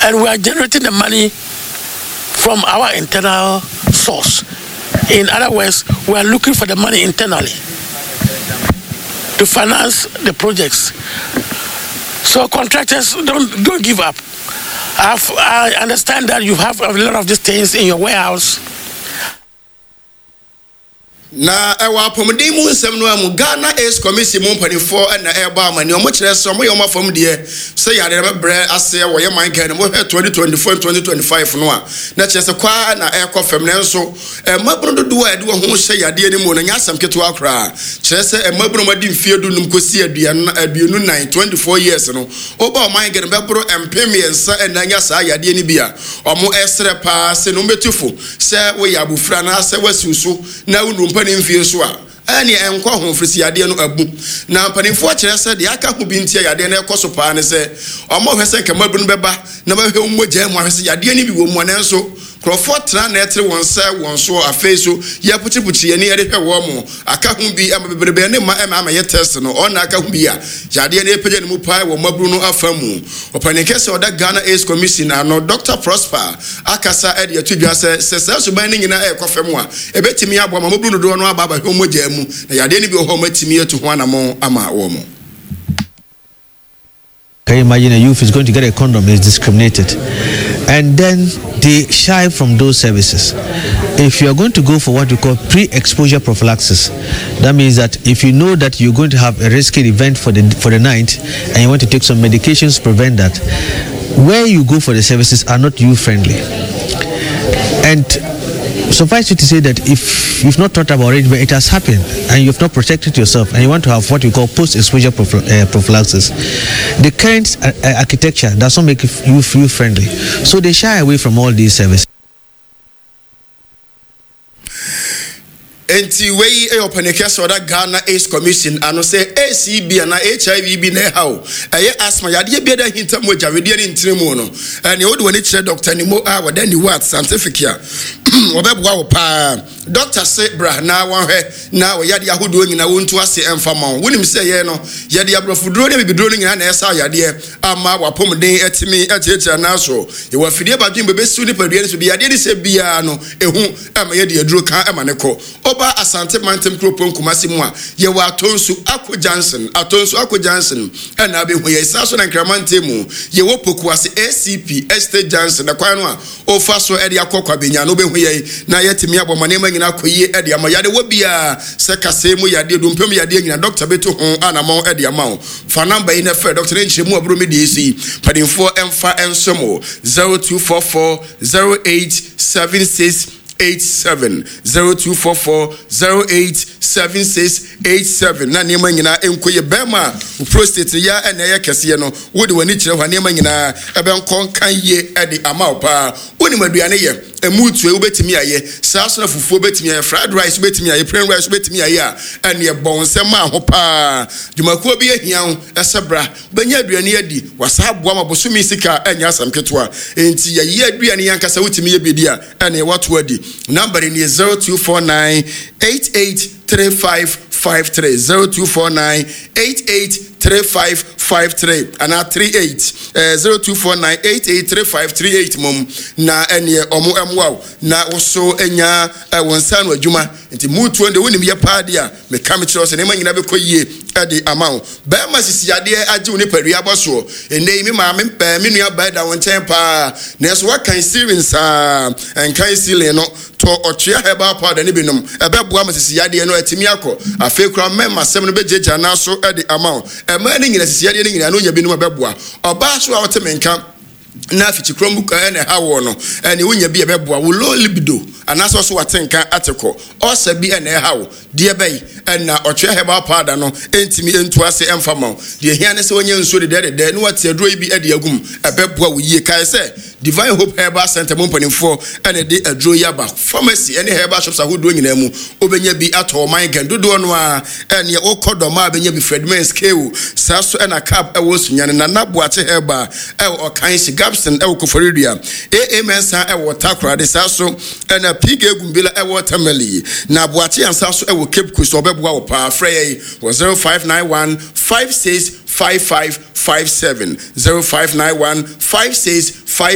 And we are generating the money from our internal source. In other words, we are looking for the money internally to finance the projects. So contractors don't don't give up. I've, I understand that you have a lot of these things in your warehouse. Na ɛwɔ apɔmuden mu nsɛm no ara mu, Ghana AIDS Commission mu mpanimfoɔ na ɛrebɔ amanneɛ. Wɔkyerɛ sɛ wɔyɛ wɔn afam deɛ sɛ yareɛ no bɛbrɛ aseɛ wɔ yɛn man Ghana mu. Wohwɛ 2024 ne 2025 no a, na kyerɛ sɛ kɔ ara na ɛrekɔ fam. Nanso mmabunu dodoɔ a ɛde wɔn ho hyɛ yadeɛ no mu no, ɛnyɛ asɛm ketewa koraa. Kyerɛ sɛ mmabunu a wɔadi mfeɛ dunum kɔsi 24, 24 years no, woba ɔman Ghana mu bɛboro 3000 na anya saa yadeɛ no bi a wɔresrɛ pa ara sɛ na wɔbɛtu fo sɛ woyɛ abofra anaasɛ woasiw so na wonnu mpanin mfie so a, ɛnneɛ ɛnkɔ ho, ɛfiri sɛ yadeɛ no abu. Na mpanimfoɔ kyerɛ sɛ deɛ aka ho bi nti a yadeɛ no rekɔ so paa ne sɛ wɔhwɛ sɛ nka mmabunu bɛba na wɔahwɛ wɔn mogya mu ahwɛ sɛ yadeɛ no bi wɔ mu a, nanso nkurɔfoɔ tena na ɛtere wɔn nsa wɔn soɔ. Afei nso yɛpukyiripukyiri yɛn ani de hwɛ wɔn. Aka ho bi ama bebrebe ne mma ɛma amɛyɛ test no, ɔn na aka ho bi a yadeɛ no repagya ne mu paa wɔ mmabunu no afa mu. Ɔpanin kɛse a ɔda Ghana AIDS Commission ano, Dɔkta Prosper akasa de ato dwa sɛ, sɛ saa suban no nyinaa rekɔ fam a, ɛbɛtumi aboa ma mmabunu dodoɔ no aba abɛhwɛ wɔn mogya mu, na yadeɛ no bi wɔ hɔ a wɔatumi atu ho anamɔn ama wɔn. Can you imagine a youth is going to get a condom, is discriminated. And then they shy from those services. If you are going to go for what we call pre-exposure prophylaxis, that means that if you know that you're going to have a risky event for the for the night and you want to take some medications to prevent that, where you go for the services are not you friendly. And suffice it to say that if you've not thought about it, but it has happened, and you've not protected yourself, and you want to have what you call post-exposure prophylaxis, the current architecture does not make you feel friendly. So they shy away from all these services. Enti wei yɛ ɔpanin kɛse a ɔda Ghana AIDS Commission ano sɛ AIDS bi anaa HIV bi na ɛha wo, ɛyɛ asthma, yadeɛ bi a ɛda ahinta mogya, wedeɛ ne ntini mu no, ɛneɛ wode w'ani kyerɛ Dɔkta Nimo a wɔda Niwat Scientific a, wɔbɛboa wo paa. Dɔkta se bra na wɔnhwɛ na wɔ yadeɛ ahodoɔ nyinaa wɔntu ase mfa ma wo. Wonim sɛ yɛn no, yɛde aborɔfoduro ne abibiduro no nyinaa na ɛsa yadeɛ ama w'apɔmuden atumi atiatia nan so. Yɛwɔ afidie badwen bɛbɛsiw nipadua no so bi yadeɛ ne sɛ biara no, ɛhu. ma yɛde aduro ka ma no kɔ. Woba Asante mantam kuropɔn Kumasi mu a, yɛwɔ Atonsu Ako Junction, Atonsu Ako Junction na abɛhu yɛn. Saa nso na Nkran mantam mu, yɛwɔ Pokuase ACP Estate Junction, ɛkwan no a wofa so de akɔ Kwabenya no, wobɛhu yɛn na yɛatumi abɔ ma nneɛma nyinaa akɔ yie de ama. Yadeɛ wɔ biara, sɛ kasɛɛ mu yadeɛ, dompe mu yadeɛ nyinaa, dɔkta bɛtu ho anamɔn de ama wo. Fa namba yi na frɛ dɔkta na nkyerɛmu a ɛboro me deɛ yi so yi, mpanimfoɔ mfa nsom wo, 0244 0876 87 0244 0876 87 na nneɛma nyinaa nkɔ yie. Bɛrima a wo prostate no yɛ na ɛyɛ kɛseɛ no, wode w'ani kyerɛ hɔ a nneɛma nyinaa ɛbɛnkɔ nka yie de ama wo paa. Wonim aduane yɛ, ɛmu tue wobɛtumi ayɛ, saa so na fufuo bɛtumi ayɛ, fried rice wobɛtumi ayɛ, plain rice wobɛtumi ayɛ a, ɛneɛ bɔ wo nsam ma ho paa. Dwumakuo bi ahia wo sɛ bra Wobɛnya aduane adi, wɔasan aboa ma bosome sika a ɛnyɛ asɛm ketewa. Enti yɛyɛ aduane yi ankasa, wotumi yɛ bi di a, ɛneɛ woato adi. Number no nie, 0249 883553, 0249 883553 anaa 38, 0249 883538 mmom, na ɛneɛ ɔmo mmoa wo na wo so nya wo nsa ano adwuma. Nti mutuo no deɛ wonim yɛ paa deɛ a, Meka mekyerɛ wo sɛ nneɛma nyinaa bɛkɔ yie de ama wo. Barima sisi adeɛ agye wo nipadua abɔ soɔ. Ɛnnɛ yi me maame, me nua baa da wo nkyɛn paa, nanso woakan ceiling saa. Nkan ceiling no, tɔ ɔtwea herbal powder no bi nom. Ɛbɛboa ma sisi yadeɛ no atumi akɔ. Afei koraa mmarima asɛm no bɛgyagya nan so de ama wo. Mmaa no nyinaa, sisi yadeɛ no nyinaa no wonya bi nom a ɛbɛboa. Ɔbaa so a wote me nka na afikyikura mu na ɛha woɔ no, ɛne wonya bi a ɛbɛboa wo. Low libido anaasɛ ɔso wate nka ate kɔ. Ulcer bi na ɛha wo. Deɛ bɛn na ɔtwea herbal powder no ntumi ntu ase mfa mma wo? Deɛ ɛhia ne sɛ woanya nsuo dedɛɛdedɛɛ na woate aduro yi bi de agu mu. Ɛbɛboa wo yie. Kae sɛ Divine Hope Herbal Centre mu mpanimfoɔ na ɛde aduro yi aba. Pharmacy ne herbal shops ahodoɔ nyinaa mu, wobɛnya bi atɔ. Ɔman Ghana dodoɔ no ara neɛ wokɔ Dɔmaa bɛnya bi, Fred Mens, Keo, saa so na Cab wɔ Sunyani, Nana Boakye Herbal wɔ Ɔkanhye, Gabson wɔ Koforidua, AA Mensah wɔ Takoradi, saa so na PK Gumbila wɔ Tamale, na Boakye Ansah nso wɔ Cape Coast. Ɔbɛboa wo paa. Frɛ yɛn wɔ 0591 56 55 57, 0591 56 55.